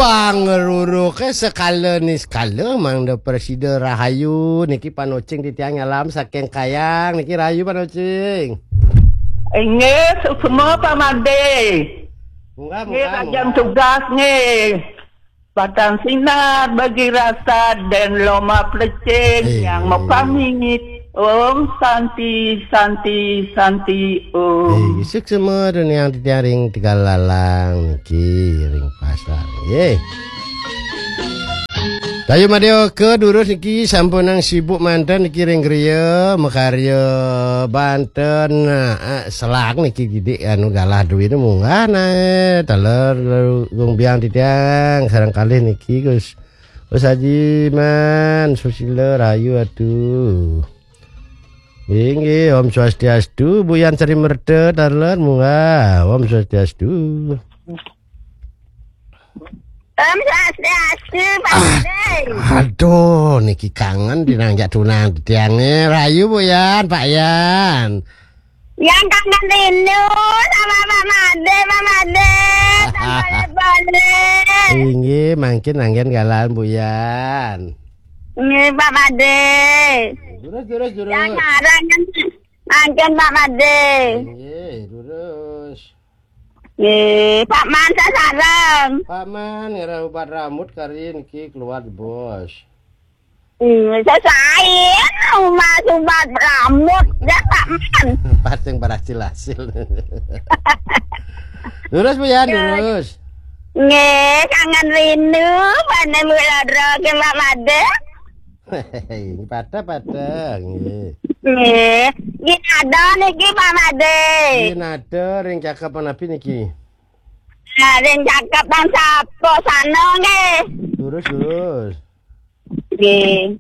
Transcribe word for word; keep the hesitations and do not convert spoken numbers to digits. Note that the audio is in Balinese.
Pangeruruke sekala niskala mangda presida rahayu niki panocing titiang nyalam saking kayang niki rahayu panocing. Inggih, suksma Pak Made. Munggah, nggih, munggah, kajeng munggah. Tugas nggih. Batang sinar bagi rasa dan loma plecing. Eh, yang mapamit. Om Santi, Santi, Santi, Om. Eh, suksma dunia titiang ring Tegal Lalang niki ring pasar. Nggih. Dayu Madya ke durus niki sampunang sibuk manten niki ring griya makarya banten, eh, selak niki gidik anu galah duwine munggah nae taler gung biang titiang sareng kalih niki Gus. Gus Haji Man Susila rahayu atuh. Inggih, Om Swastiastu, Buyan Sri Merta taler munggah. Om Swastiastu. Om Swastiastu, Pak Made. Aduh, niki kangen dinanjak tunang tiange. Rahayu Buyan, Pak Yan. Yang kangen rindu sama Pak Made, Pak Made. Tambah boleh. Inggih, mangkin anggen galan Buyan. Nggih, Pak Made. Durus, durus, durus. Yang ngarang kan mangkin Pak Made. Inggih, durus. Nggih, Pak Man sasareng. Pak Man ngira ubat rambut kari niki keluar di bos. Hmm, sesain umat-umat rambut ya Pak Man. Pas yang berhasil-hasil. Durus Buyan, ya. Durus. Nggih, kangen rindu, pane Bu Ladro ke Pak Made. Ini pada-pada, nggih. Nggih. Nggih, ada niki Pak Made. Nggih, ada ring cakep napi niki? Nah, ring cakep nang sapo sana nggih. Durus, durus. Nggih.